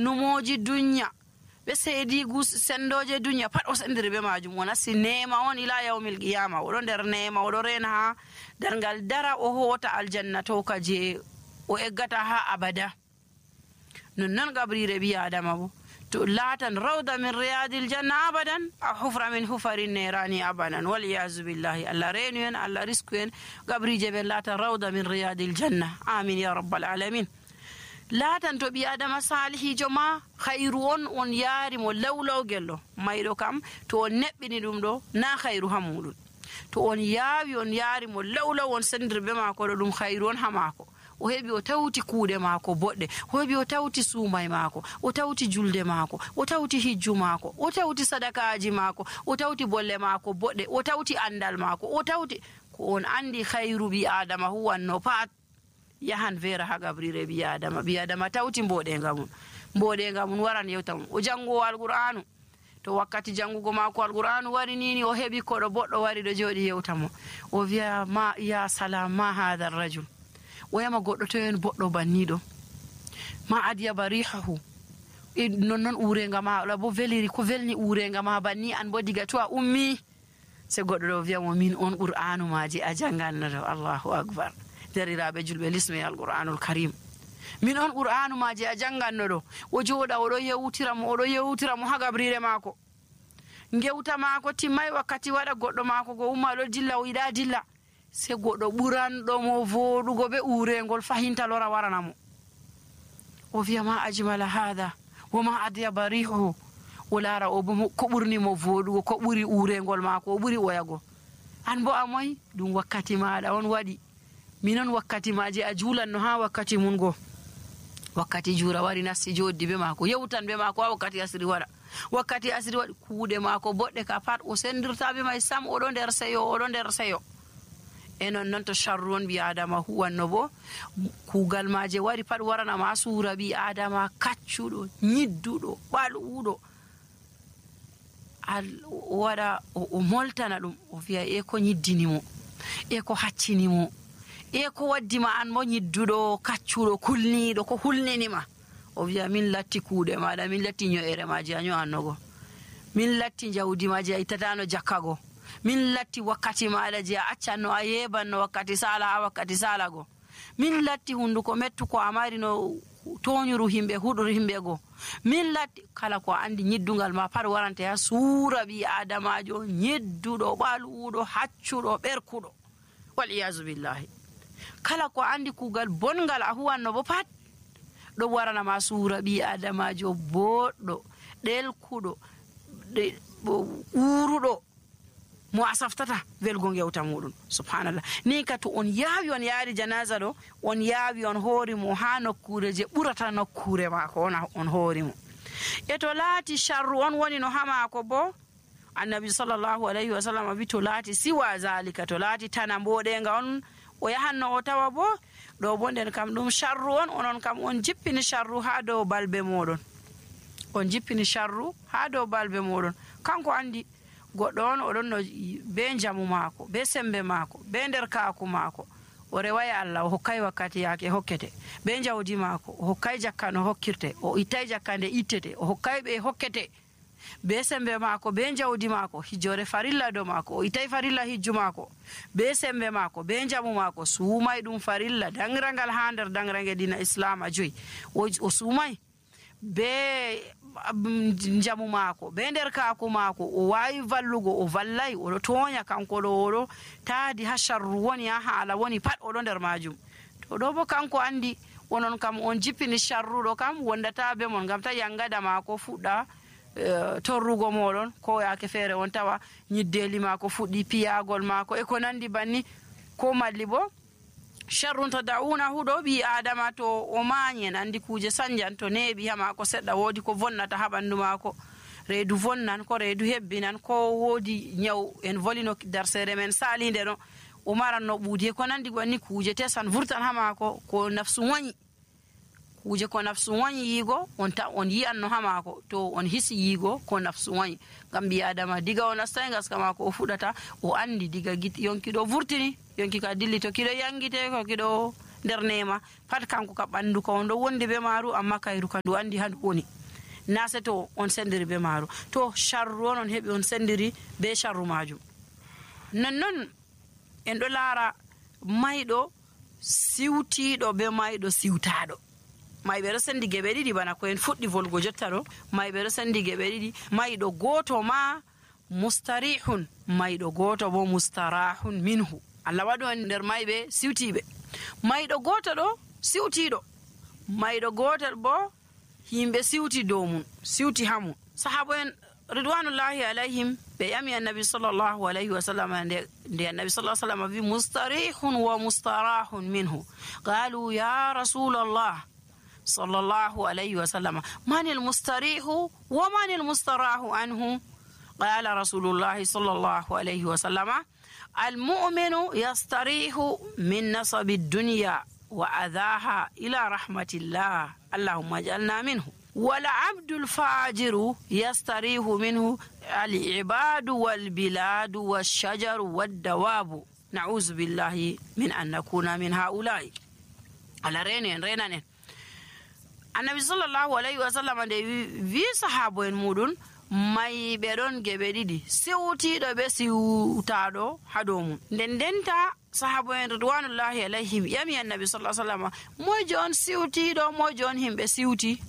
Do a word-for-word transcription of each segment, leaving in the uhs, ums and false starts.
numoji dunya be seydigu sendoje dunya pat o sendiri be majum wona si neema on ila yawmil qiyama o do der neema o do rena ha dargal dara o hota aljanna to ka je o eggata ha abada non non gabrire bi adama bo to latan rawda min riyadil janna abadan aw hufra min hufarin nirani abadan wal ya'zu billahi alla renu en alla risku en gabrije be latan rawda min riyadil janna amin ya rabbal alamin latan to bi adama salihijo ma khairu on on yari mo lawlaw gello maydo kam to on nebbini dum do na khairu hamudun to on yaawi on yari mo lawlaw on sendirbe mako do dum khairu on hamako o hebi o tawti kuude mako bodde o hebi o tawti suumay mako o tawti julde mako o tawti hijju mako o tawti sadakaaji mako o tawti bolle mako bodde o tawti andal mako o tawti ko on andi khairu bi adama huwanno pat yahan vera ha gabrire bi adama bi adama tawti mbode ngamun mbode ngamun waran yewtam o jango alqur'anu to wakkati jangugo mako alqur'anu wari nini o hebi ko do boddo wari do jodi yewtamo o wiya ma ya salam ma hadha ar-rajul o yama goddo to en boddo bannido ma adiya barihahu e non non urenga ma la bo veliri ko velni urenga ma banni an bo diga to a ummi se goddo do wiya mo min on qur'anu maji a janganno Allahu akbar derirabe julbe lismi alqur'anul karim min on qur'anu maji a janganno do o joda o do yewtira mo o do yewtira mo ha gabrire mako ngewta mako timmay wakkati wada goddo mako go umma do dilla o ida dilla se goddo burando mo vodugo be urengol fahinta lora waranamo o wiya ma ajmala hada wama adiya barihu ulara o bo ko burni mo vodugo ko buri urengol mako o buri oyago an bo amoy dum wakkati maada on wadi minon wakkati maji a julanno ha wakkati mun go wakkati jura wari nasti joddi be mako yewtan be mako wakkati asri wara wakkati asri wadi kuude mako bodde ka pat o sendirta be may sam o do der seyo o do der seyo enon non to sharron bi adama huwanno bo kugal maaje wari pat warana ma sura bi adama kaccudo nyiddudo baluudo al wada o moltana dum o fiya e ko nyiddini mo e ko haccini mo e ko waddima an mo nyiddudo kaccudo kulnido ko hulninima o wiya min latti kuude maada min latti nyoere maaje anyo annogo min latti jawdi maaje itatano jakkago min latti wakkati maada je accanno a yebanno wakkati sala ha wakkati sala go min latti hunduko mettu ko amari no toñuru himbe hudur himbe go min latti kala ko andi nyiddungal ma par warante ha suura bi adamajo nyiddudo baluudo haccudo berkudo wal iyazu billahi kala ko andi kugal bongal a huwanno bo pat do warana ma suura bi adamajo boddo delkudo de urudo mo asaftata velgo ngewta mudun subhanallah ni ka to on yaawi on yaari janaza do on yaawi on hoori mo ha nokkure je burata nokkure mako on on hoori mo e to laati sharru on woni no hama ko bo annabi sallallahu alaihi wasallam bi to laati siwa zalika to laati tanambode nga on o yahanno o tawa bo do bonden kam dum sharru on onon kam on jippini sharru ha do balbe modon on jippini sharru ha do balbe modon kanko andi goddo on odon no be jamu mako be sembe mako be der kaaku mako o rewaya Allah o hokkay wakkati yake hokkete be jawdi mako o hokkay jakkano hokkirte o itay jakkande ittete o hokkay be hokkete be sembe mako be jawdi mako hijore farilla do mako o itay farilla hijju mako be sembe mako be jamu mako suumay dum farilla dangrangal hander dangrange dina islam ajoy o suumay be jamu mako be der kaaku mako o wayi vallugo o vallay o tonya kanko do taadi ha sharru woni ha hala woni pat o do der majum to do bo kanko andi wonon kam on jippini sharru do kam wondata be mon gam ta yangada mako fudda uh, torrugo modon ko yake fere on tawa nyiddeli mako fuddi piyagol mako e ko nandi banni ko malli bo sharrun tad'una hudo bi adama to o manyen andi kuje sanjan to nebi hama ko sedda wodi ko vonnata ha bandu mako reedu vonnan ko reedu hebbinan ko wodi nyaw en volino darsere men salinde no o maranno buudi ko nandi gonni kuje tesan vurtan hama ko ko nafsu wani kuje ko nafsu wani yigo on ta on yi'anno hama ko to on hisi yigo ko nafsu wani gam bi adama diga on astangas kama ko o fudata o andi diga git yonki do vurtini yonki ka dilli to kido yangite ko kido nder nema pat kanko ka ɓandu ka on ɗo wondi be maaru amma kayru ka ndu andi handu woni na se to on sendiri be maaru to sharru on on heɓi on sendiri be sharru majum. Nonnon en ɗo laara mayɗo siwtiɗo be mayɗo siwtaɗo. Mayɓe ɗo sendi geɓe ɗiɗi bana ko en fuɗɗi volgo jotta ɗo. Mayɓe ɗo sendi geɓe ɗiɗi, mayɗo goto ma mustarihun, mayɗo goto bo mustarahun minhu. Allah waɗu en nder mayɓe siwtiɓe. Mayɗo goto ɗo siwtiɗo, mayɗo gotel bo himɓe siwti dow mum, siwti ha mum. Sahaba en ridwanullahi alayhim ɓe yami annabi sallallahu alayhi wa sallam nde nde annabi sallallahu alayhi wa sallam wi mustarihun wa mustarahun minhu. Qalu ya rasulallah sallallahu alayhi wa sallam man almustarihu wa man almustarahu anhu. Qala rasulullahi sallallahu alayhi wa sallam almu'minu yastarihu min nasabi dunya wa adhaha ila rahmatillah allahumma ij'alna minhu. والعبد الفاجر يستريح منه العباد والبلاد والشجر والدواب نعوذ بالله من أن نكون من هؤلاء. على رينين رينين النبي صلى الله عليه وسلم في صحابة مودون may ɓe ɗon geɓe ɗiɗi siwtiɗo be siwtaɗo ha dow mum. Nden denta sahaba en ridwanullahi alayhim yami annabi sallallahu alaihi wasallam mojo on siwtiɗo mojo on himɓe siwti.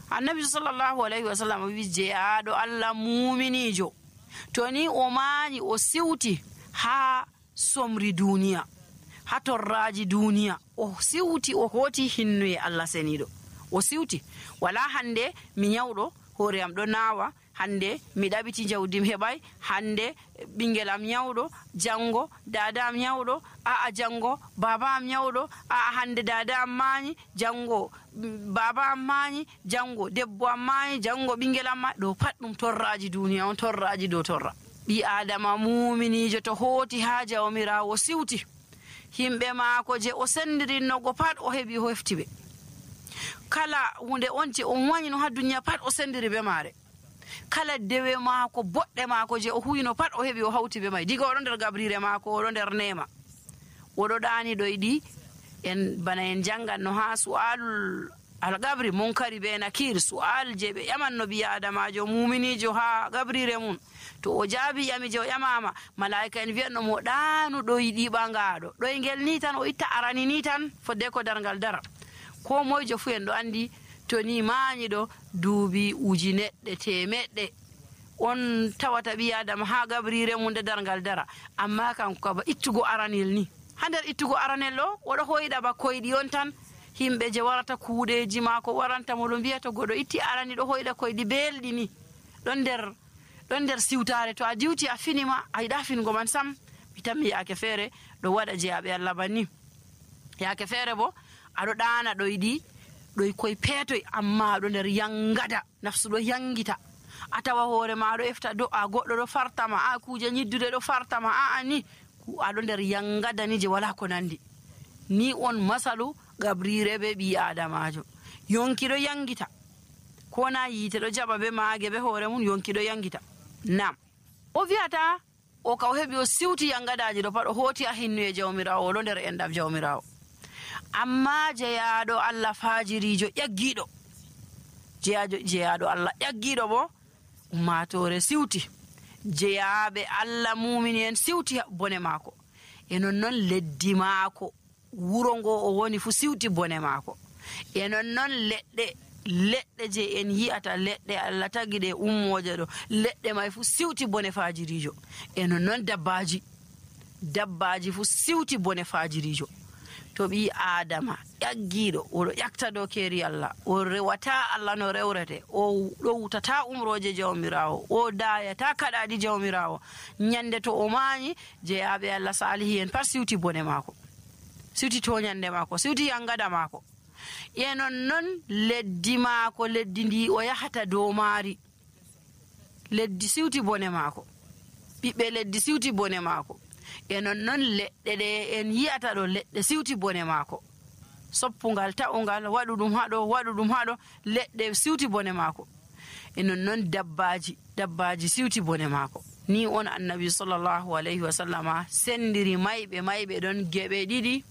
Annabi sallallahu alaihi wasallam wi jeyaɗo Allah muminijo to ni o mañi o siwti ha somri duniya ha torraji duniya o siwti o hoti hinnuye Allah seniɗo o siwti wala hande mi nyawɗo hoore am ɗo nawa hande mi ɗaɓiti jawdim heɓay hande ɓingel am nyawɗo jango dada am nyawɗo a a jango baba am nyawɗo a a hande dada am mañi jango baba am mañi jango debbo am mañi jango ɓingel am mañi ɗo pat ɗum torraji duniya on torraji dow torra. ɓi adama muminijo to hoti ha jawmirawo siwti himɓe maako je o sendirinnogo pat o heɓi o hefti ɓe kala hunde on je on wañino ha duniya pat o sendiri be maare kala dewe maako boɗɗe maako je o huyino pat o heɓi o hawti be may diga oɗo nder gabrire maako oɗo nder nema oɗo ɗani ɗoyɗi en bana en janganno ha su'alul algabri munkari be nakir su'al je ɓe ƴamanno ɓi adamajo muminijo ha gabrire mum to o jaabi ƴami je o ƴamama malaika en wiyanno mo ɗanu ɗoyɗi ɓangaɗo ɗoygel ni tan o itta arani ni tan fodde ko dargal dara ko moyjo fu en ɗo andi to ni mañiɗo duubi uji neɗɗe temeɗɗe on tawata ɓi adama ha gabrire mum nde dargal dara amma kanko kaba ittugo aranel ni ha nder ittugo aranel ɗo oɗo hoyɗa ba koyɗi on tan himɓe je warata kuuɗeji maako waranta mo ɗo mbiyata goɗo itti arani ɗo hoyɗa koyɗi belɗi ni ɗon nder ɗon nder siwtare to a diwti a finima a yiɗa fingo man sam mi tammi yaake feere ɗo waɗa jeyaɓe Allah banni yaake feere bo aɗo ɗana ɗoyɗi ɗoy koye peetoy amma aɗo nder yangada nafsu ɗo yangita a tawa hoore ma ɗo efta do'a goɗɗo ɗo fartama a kuje ñiddude ɗo fartama a a ni aɗo nder yangada ni je wala ko nandi ni on masalu gabrire be ɓi adamajo yonki ɗo yangita ko na yiite ɗo jaɓa be maage be hoore mum yonki ɗo yangita nam o wiyata o ka o heɓi o siwti yangadaji ɗo pat o hooti a hinnuye jawmirawo oɗo nder enɗam jawmirawo amma jeyaɗo Allah fajirijo ƴaggiɗo jeyajo jeyaɗo Allah ƴaggiɗo bo ummatore siwti jeyaɓe Allah mumini en siwti bone maako e nonnon leddi maako wuro ngo o woni fu siwti bone maako e nonnon leɗɗe leɗɗe je en yi'ata leɗɗe Allah tagiɗe ummoje ɗo leɗɗe may fu siwti bone fajirijo e nonnon dabbaji dabbaji fu siwti bone fajirijo to ɓi adama ƴaggiɗo oɗo ƴakta dow keeri Allah o rewata Allah no rewrete o ɗo wutata umroje jawmirawo o dayata kaɗaɗi jawmirawo ñande to o mañi jeyaɓe Allah salihi en pat siwti bone maako siwti toñande maako siwti yangada maako e nonnon leddi maako leddi ndi o yahata dow maari leddi siwti bone maako ɓiɓɓe leddi siwti bone maako e nonnon leɗɗe ɗe en yi'ata ɗo leɗɗe siwti bone maako soppungal ta'ungal waɗu ɗum haɗo waɗu ɗum haɗo leɗɗe siwti bone maako e nonnon dabbaji dabbaji siwti bone maako ni on annabi sallallahu alayhi wa sallama sendiri mayɓe mayɓe ɗon geɓe ɗiɗi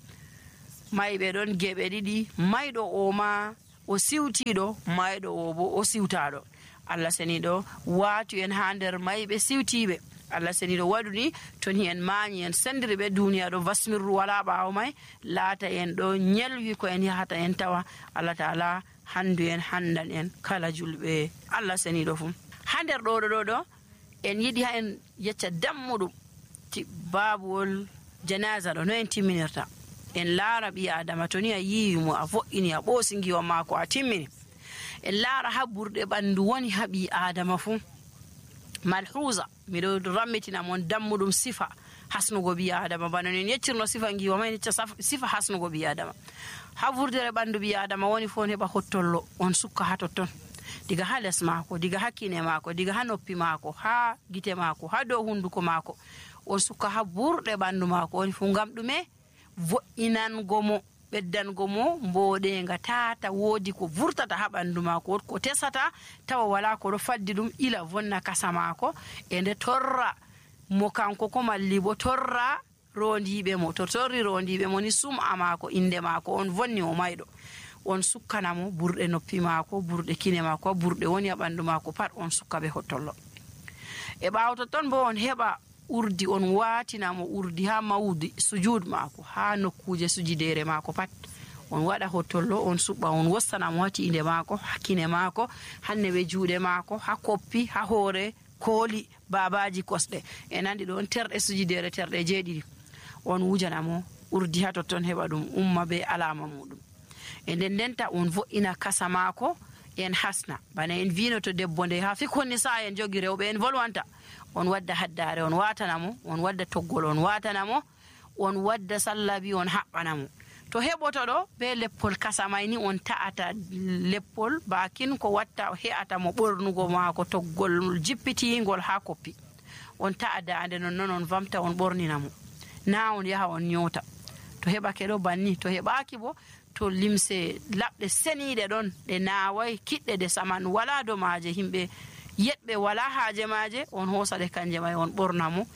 mayɓe ɗon geɓe ɗiɗi, mayɗo o ma o siwtiɗo, mayɗo o bo o siwtaɗo. Allah seniɗo watu en ha nder mayɓe siwtiɓe. Allah seniɗo waɗuni toni en mañi en sendiri ɓe duniya ɗo vasmirru wala ɓawo may, laata en ɗo nyelwi ko en yahata en tawa Allah ta'ala handu en handan en kala julɓe Allah seniɗo fu. Ha nder ɗo ɗo ɗo en yiɗi ha en yecca dammuɗum babuwol janaza ɗo no en timminirta. En laara ɓi adama toni a yiwi mo a vo'ini a ɓoosi ngiwa mako a timmini. En laara ha burɗe ɓandu woni ha ɓi adama fu. Malhuza miɗo rammitina mon dammuɗum sifa hasnugo ɓi adama, bana en yeccirno sifa ngiwa ma en yecca sifa hasnugo ɓi adama. Ha vurdere ɓandu ɓi adama woni fu on heɓa hottollo on sukka ha totton, diga ha les mako, diga ha kine mako, diga ha noppi mako, ha gite mako, ha dow hunduko mako, on sukka ha burɗe ɓandu mako woni fu. Ngam ɗume? Vo'inango mo, ɓeddango mo mboɗenga tata woodi ko vurtata ha ɓandu mako, ko tesata tawa wala ko ɗo faddi ɗum ila vonna kasa mako e nde torra mo kanko ko malli bo torra rondiɓe mo. To torri rondiɓe mo ni sum'a mako, inde mako on vonni o mayɗo, on sukkana mo burɗe noppi mako, burɗe kine mako, burɗe woni ha ɓandu mako pat on sukka be hottollo. E ɓawo totton bo on heɓa urdi, on watina mo urdi ha mawdi sujud mako, ha nokkuje sujidere mako pat on waɗa hottollo on suɓɓa, on wostana mo ha tiinde mako, ha kine mako, hanne be juuɗe mako, ha koppi, ha hoore, kooli, babaji, kosɗe e nandi ɗo on terɗe sujidere terɗe jeeɗiɗi. On wujana mo urdi ha totton heɓa ɗum umma be alama muɗum. E nden ndenta on vo'ina kasa mako en hasna, bana en vino to debbo nde ha fikkonni sa en jogi rewɓe en volwanta, on wadda haddare on watana mo, on wadda toggol on watana mo, on wadda sallabi on haɓɓana mo. To heɓoto ɗo be leppol kasa may ni on ta'ata leppol bakin ko watta he'ata mo ɓornugo mako toggol jippitingol ha koppi, on ta'a dande non non on vamta on ɓornina mo, na on yaha on nyota. To heɓake ɗo banni, to heɓaki bo to limse laɓɗe seniɗe ɗon ɗe nawai kiɗɗe de saman wala do maje, himɓe yeɗɓe wala haaje maje, on hosaɗe kanje may on ɓorna mo.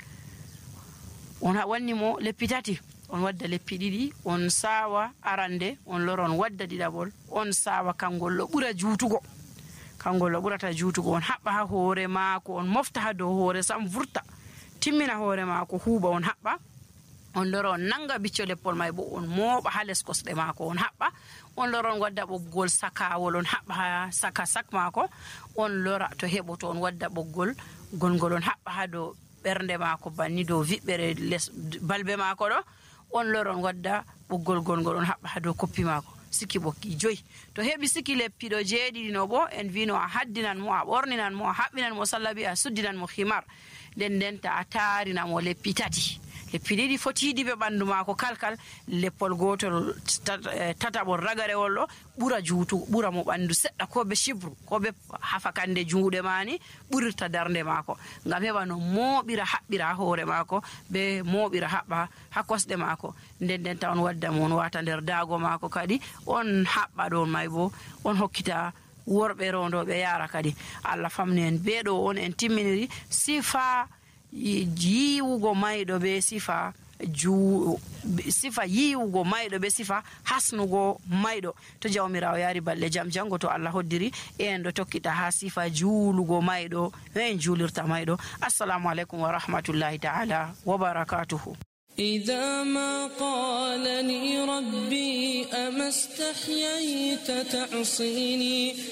On wanni mo leppi tati, on wadda leppi ɗiɗi, on sawa arande, on lora on wadda ɗiɗaɓol, on sawa kangol ɗo ɓura juutugo, kangol ɗo ɓurata juutugo, on haɓɓa ha hoore maako, on mofta ha dow hoore sam vurta, timmina hoore maako huuɓa, on haɓɓa, on lora on nanga bicco leppol may bo on mooɓa ha les kosɗe maako, on haɓɓa, on lora on wadda ɓoggol sakawol, on haɓɓa ha saka sak maako, on lora to heɓo to on wadda ɓoggol gongol on haɓɓa ha dow ɓernde maako banni dow viɓɓere les balbe maako ɗo, on lora on wadda ɓoggol gongol on haɓɓa ha dow koppi maako, sikki ɓokki joyi. To heɓi sikki leppiɗo jeeɗiɗi no bo en vino a haddinan mo, a ɓorninan mo, a haɓɓinan mo sallabi, a suddinan mo himar, nden ndenta a tarina mo leppi tati. Leppi ɗiɗi fotiɗi ɓe ɓandu maako kalkal, leppol gotol tataɓol ragarewol ɗo ɓura juutugo, ɓura mo ɓandu seɗɗa, ko be shibru, ko be hafakande juuɗe mani ɓurirta darnde maako, ngam heɓa no mooɓira haɓɓira hoore maako be mooɓira haɓɓa ha kosɗe maako. Nden ndenta on wadda mo on wata nder daago maako kadi on haɓɓa ɗon may bo on hokkita worɓe rondoɓe yara kadi. Allah famni en beeɗo on en timminiri sifa yiwugo mayɗo be sifa ju sifa yiwugo mayɗo be sifa hasnugo mayɗo. To jawmirawo yaari balle jam jango to Allah hoddiri en ɗo tokkita ha sifa juulugo mayɗo, en juulirta mayɗo. Assalamu alaikum wa rahmatullahi ta'ala wa barakatuhu. إذا ما قالني ربي أما استحييت تعصيني